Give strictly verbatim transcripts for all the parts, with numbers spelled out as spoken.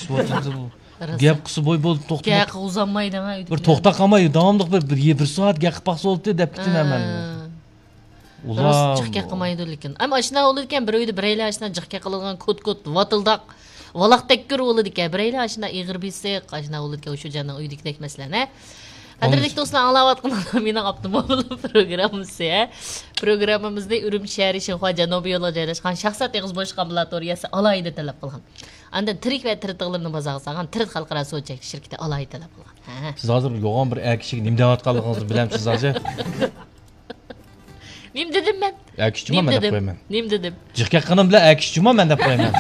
ئېچىۋاتىدۇ. راست. گەپ قىلسا بوي بولدى، توختىماي. گەپ قىلغۇزالمايدۇ، ھە، ئۆيدىكىلەر. بىر توختاپ قالماي، داۋاملىق بىر، بىر، بىر سائەت گەپ قىلىپ باقسا بولدى دەپ كېتىمەن مەن. ھە. ئۇلار راست جىق گەپ قىلمايدۇ لېكىن. ئەمما ئاشۇنداق بولىدىكەن، بىر ئۆيدە بىرەيلەن ئاشۇنداق جىق گەپ قىلىدىغان، كوت-كوت، ۋاتىلداق، ۋالاق تەككۈر بولىدىكەن. بىرەيلەن ئاشۇنداق ئېغىر بېسىق، ئاشۇنداق بولىدىكەن، ئۇشۇ جاننىڭ ئۆيدىكىدەك مەسىلەن، ھە. قەدىرلىك دوستلار، ئاڭلاۋاتقىنىڭلار مېنىڭ ئاپتوموبىل پروگراممىسى، ھە. پروگراممىمىزنى ئۈرۈمچى شەھىرى شىنخۇا جەنۇبىي يولىغا جايلاشقان شەخسىيەت ئېغىز بوشلۇق ئامبۇلاتورىيەسى ئالاھىدە تەلەپ قىلغان. ئاندىن تىرىك ۋە تىرىت ئىغلىرىنى بازارغا سالغان تىرىت خەلقئارا سودا چەكلىك شىركىتى ئالاھىدە تەلەپ قىلغان. ھە. سىز ھازىر يوغان بىر ئەر كىشىگە نېمە دەۋاتقانلىقىڭىزنى بىلەمسىز ھازىر؟ نېمە دېدىم مەن؟ ئەر كىشى جۇما نېمە مەن دەپ دېدىم؟ قويىمەن. نېمە دېدىم؟ جىق گەپ قىلغىنىم بىلەن ئەر كىشى جۇما مەن دەپ قويىمەن.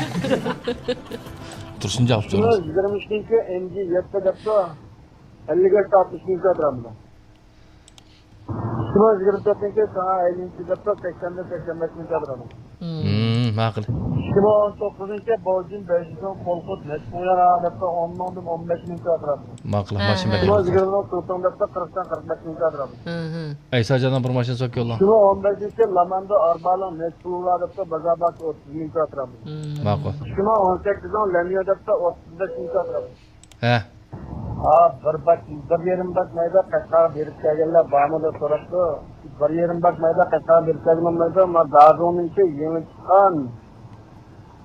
تۇرسۇن جاۋاب سورىسۇن. يىگىرمە ئىككىنچى ئېم جى يەتتە دەپتۇ. ئەللىك ھېكتار ئۈچ مىڭ كۋادرات مېتىر. ئىككى مىڭ يىگىرمە تۆتىنچى ساڭا ئەللىنچى دەپتۇ، سەكسەندىن سەكسەن بەش مىڭ كۋادرات مېتىر. مم، ماقۇل. ئىككى مىڭ ئون توققۇزىنچى بوجىن بەيجىڭ قولخوت نەچچە مىڭ يۈەن دەپتۇ، ئون مىڭدىن ئون بەش مىڭ كۋادرات مېتىر. ماقۇل، ھە، ماشىنا ھە. بەك ئىككى مىڭ يىگىرمە تۇتۇڭ دەپتۇ، قىرىقتىن قىرىق بەش مىڭ كۋادرات مېتىر. ھە، ھە. ئەيساجاننىڭ بىر ماشىنىسى بولۇپ كېلىدۇ. ئىككى مىڭ ئون بەشىنچى لاماندا ئاربالىڭ نەچچە پۇل بار دەپتۇ، بازار باھاسى ئوتتۇز مىڭ كۋادرات مېتىر. مم. ماقۇل. ئىككى مىڭ ئون سەككىزىنچى لەنيو دەپتۇ، ئوتتۇز بەش مىڭ كۋادرات مېتىر. ھە. ھا، بىر باك، بىر يېرىم باك مايدا قەشقەرگە بېرىپ كەلگەنلەر بارمۇ دەپ سوراپتۇ. بىر يېرىم باك مايدا قەشقەرگە بېرىپ كەلگەن بولمايدۇ. ما دازۇڭنىڭكى يېڭى چىققان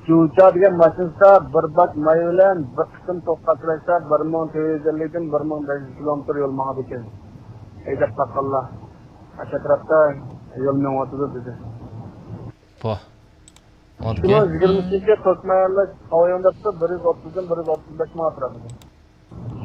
جۇچا دېگەن ماشىنىسىدا بىر باك ماي بىلەن بىر قېتىم توك قاچىلاشتا بىر مىڭ تۆت يۈز ئەللىكتىن بىر مىڭ بەش يۈز كىلومېتىر يول ماڭىدىكەن. ھەيدەپ باققانلار ئاشۇ ئەتراپتا يول مېڭىۋاتىدۇ دېدى. پو. ئىككى مىڭ يىگىرمە ئۈچىنچى توك ماياللاش قاۋايۇڭ دەپتۇ، بىر يۈز ئوتتۇزدىن بىر يۈز ئوتتۇز بەش مىڭ ئەتراپىدا.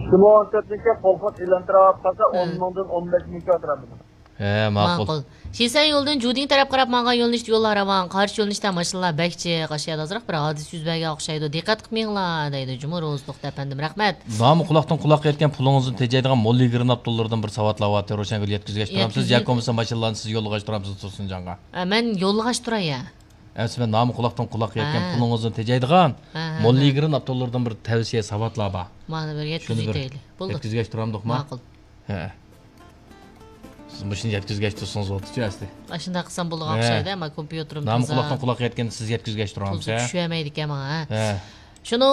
ئىككى مىڭ ئون تۆتىنچى قولخوت ئېلان تۇراۋاتقانسا، ئون مىڭدىن ئون بەش مىڭ ئەتراپىدا. ھە، ماقۇل. ماقۇل. شىسەن يولىدىن جۇدىڭ تەرەپ قاراپ ماڭغان يۆنىلىشتە يوللار راۋان، قارشى يۆنىلىشتە ماشىنىلار بەك جىق. ئاشۇ يەردە ئازراق بىر ھادىسە يۈز بەرگەن ئوخشايدۇ. دىققەت قىلىپ مېڭىڭلار دەيدۇ جۇمۇ روزلۇق ئەپەندىم. رەھمەت. نامى قۇلاقتىن قۇلاققا يەتكەن پۇلىڭىزدىن تېجەيدىغان موللا يىگىرمە ئاپتوللىرىدىن بىر ساۋاتلار بارتى، روشەنگۈل يەتكۈزگەچ تۇرامسىز؟ يەتكۈزگە- ياكى بولمىسا ماشىنىلارنى سىز يوللىغاچ تۇرامسىز تۇرسۇنجانغا؟ ئە، مەن يوللىغاچ تۇراي يا. ئەمسە مەن نامى قۇلاقتىن قۇلاققا يەتكەن ھە. پۇلىڭىزدىن تېجەيدىغان ھە، ھە، موللا ھە. يىگىرمە ئاپتوللىرىدىن بىر تەۋسىيە ساۋاتلار بار. مانا بىر شۇنى بىر يەتكۈزۈۋېتەيلى. بولدى. يەتكۈزگەچ تۇرامدۇقما؟ ماقۇل. ھە. سىز مۇشۇنى يەتكۈزگەچ تۇرسىڭىز بولدىچۇ ئەسلى. ئاشۇنداق قىلسام بولىدىغان ھە. ئوخشايدۇ، ئەمما كومپيۇتېرىم نامى تازا. قۇلاقتىن قۇلاققا يەتكەندە سىز يەتكۈزگەچ تۇرامسىز، تۇزى ھە؟ چۈشۈۋەرمەيدىكەن ماڭا، ھە. ھە. شۇنىڭ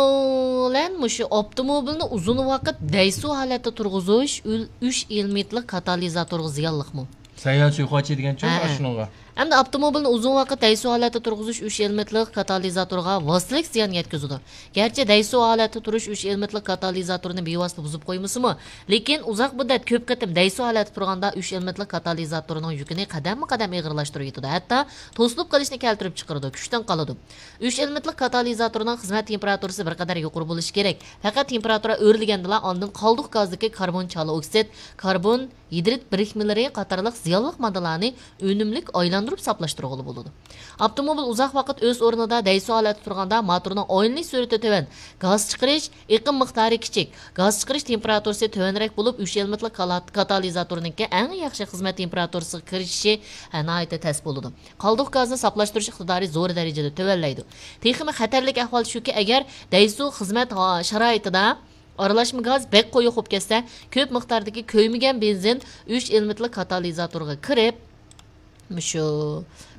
بىلەن مۇشۇ ئاپتوموبىلنى ئۇزۇن ۋاقىت دەيسۇ ھالەتتە تۇرغۇزۇش ئۈل-، ئۈچ ئېلېمېنتلىق كاتالىزاتورغا زىيانلىقمۇ؟ سەييارە سۇيىقاتچى دېگەنچۇ ھە، ھە. شۇنىڭغا. ئەمدى ئاپتوموبىلنى ئۇزۇن ۋاقىت دەيسۇ ھالەتتە تۇرغۇزۇش ئۈچ ئېلېمېنتلىق كاتالىزاتورغا ۋاسىتىلىك زىيان يەتكۈزىدۇ. گەرچە دەيسۇ ھالەتتە تۇرۇش ئۈچ ئېلېمېنتلىق كاتالىزاتورنى بىۋاسىتە بۇزۇپ قويمىسىمۇ، لېكىن ئۇزاق مۇددەت كۆپ قېتىم دەيسۇ ھالەتتە تۇرغاندا ئۈچ ئېلېمېنتلىق كاتالىزاتورنىڭ يۈكىنى قەدەممۇ قەدەم ئېغىرلاشتۇرۇۋېتىدۇ، ھەتتا توسۇلۇپ قېلىشنى كەلتۈرۈپ چىقىرىدۇ، كۈچتىن قالىدۇ. ئۈچ ئېلېمېنتلىق كاتالىزاتورنىڭ خىزمەت تېمپېراتۇرىسى بىر قەدەر يۇقىرى بولۇشى كېرەك. پەقەت تېمپېراتۇرا ئۆرلىگەندىلا ئاندىن قالدۇق گازدىكى كاربون چالا ئوكسىد، كاربون، ھىدرىد بىرىكمىلىرى قاتارلىق زىيانلىق ماددىلارنى ئۈنۈملۈك ئايلاندۇرۇپ ساپلاشتۇرغىلى بولىدۇ. ئاپتوموبىل ئۇزاق ۋاقىت ئۆز ئورنىدا دەيسۇ ھالەتتە تۇرغاندا، موتورنىڭ ئايلىنىش سۈرئىتى تۆۋەن، گاز چىقىرىش، ئېقىم مىقدارى كىچىك، گاز چىقىرىش تېمپېراتۇرىسى تۆۋەنرەك بولۇپ، ئۈچ ئېلېمېنتلىق كالا-، كاتالىزاتورنىڭكى ئەڭ ياخشى خىزمەت تېمپېراتۇرىسىغا كىرىشىشى، ھە، ناھايىتى تەس بولىدۇ. قالدۇق گازنى ساپلاشتۇرۇش ئىقتىدارى زور دەرىجىدە تۆۋەنلەيدۇ. تېخىمۇ خەتەرلىك ئەھۋال شۇكى، ئەگەر دەيسۇ خىزمەت ھا-، شارائىتىدا ئارىلاشما گاز بەك قويۇق بولۇپ كەتسە، كۆپ مىقداردىكى كۆيمىگەن بېنزىن ئۈچ ئېلېمېنتلىق كاتالىزاتورغا كىرىپ، مۇشۇ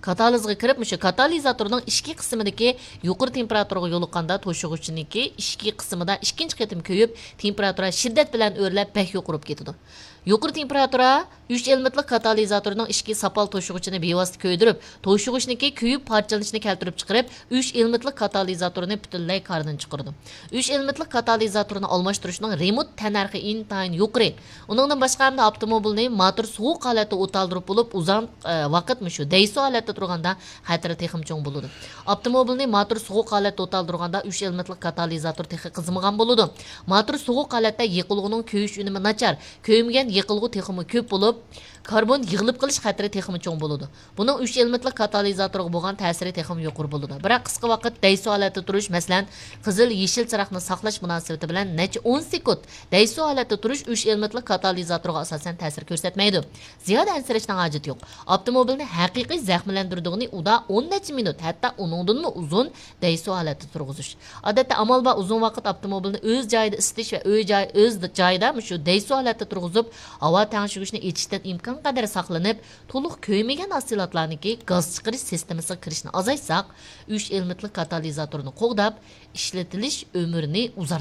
كاتالىزغا كىرىپ، مۇشۇ كاتالىزاتورنىڭ ئىچكى قىسمىدىكى يۇقىرى تېمپېراتۇرىغا يولۇققاندا، توشۇغۇچنىڭكى ئىچكى قىسمىدا ئىككىنچى قېتىم كۆيۈپ، تېمپېراتۇرا شىددەت بىلەن ئۆرلەپ، بەك يۇقىرى بولۇپ كېتىدۇ. يۇقىرى تېمپېراتۇرا ئۈچ ئېلېمېنتلىق كاتالىزاتورنىڭ ئىچكى ساپال توشۇغۇچىنى بىۋاسىتە كۆيدۈرۈپ، توشۇغۇچنىڭكى كۆيۈپ پارچىلىنىشىنى كەلتۈرۈپ چىقىرىپ، ئۈچ ئېلېمېنتلىق كاتالىزاتورنى پۈتۈنلەي كاردىن چىقىرىدۇ. ئۈچ ئېلېمېنتلىق كاتالىزاتورنى ئالماشتۇرۇشنىڭ رېمونت تەننەرخى ئىنتايىن يۇقىرى. ئۇنىڭدىن باشقا، ئەمدى ئاپتوموبىلنى موتور سوغۇق ھالەتتە ئوتالدۇرۇپ بولۇپ، ئۇزاق، ئە، ۋاقىت مۇشۇ دەيسۇ ھالەتتە تۇرغاندا خەتىرى تېخىمۇ چوڭ بولىدۇ. ئاپتوموبىلنى موتور سوغۇق ھالەتتە ئوتالدۇرغاندا، ئۈچ ئېلېمېنتلىق كاتالىزاتور تېخى قىزىمىغان بولىدۇ. موتور سوغۇق ھالەتتە يېقىلغۇنىڭ كۆيۈش ئۈنۈمى ناچار، كۆيمىگەن يېقىلغۇ تېخىمۇ كۆپ بولۇپ، كاربون يىغىلىپ قېلىش خەتىرى تېخىمۇ چوڭ بولىدۇ. بۇنىڭ ئۈچ ئېلېمېنتلىق كاتالىزاتورغا بولغان تەسىرى تېخىمۇ يۇقىرى بولىدۇ. بىراق، قىسقا ۋاقىت دەيسۇ ھالەتتە تۇرۇش، مەسىلەن، قىزىل، يېشىل چىراغنى ساقلاش مۇناسىۋىتى بىلەن نەچچە ئون سېكۇنت دەيسۇ ھالەتتە تۇرۇش ئۈچ ئېلېمېنتلىق كاتالىزاتورغا ئاساسەن تەسىر كۆرسەتمەيدۇ. زىيادە ئەنسىرەشنىڭ ھاجىتى يوق. ئاپتوموبىلنى ھەقىقىي زەخىملەندۈرىدىغىنى ئۇدا ئون نەچچە مىنۇت، ھەتتا ئۇنىڭدىنمۇ ئۇزۇن دەيسۇ ھالەتتە تۇرغۇزۇش. ئادەتتە ئامال بار ئۇزۇن ۋاقىت ئاپتوموبىلنى ئۆز جايىدا ئىسىتىش ۋە ئۆي جاي، ئۆز جايىدا مۇشۇ دەيسۇ ھالەتتە تۇرغۇزۇپ، ھاۋا تەڭشىگۈچنى ئېچىشتىن ئىمكانقەدەر ساقلىنىپ، تولۇق كۆيمىگەن ھاسىلاتلارنىڭكى گاز چىقىرىش سىستېمىسىغا كىرىشنى ئازايتساق، ئۈچ ئېلېمېنتلىق كاتالىزاتورنى قوغداپ، ئىشلىتىلىش ئۆمرىنى ئۇزارتقىلى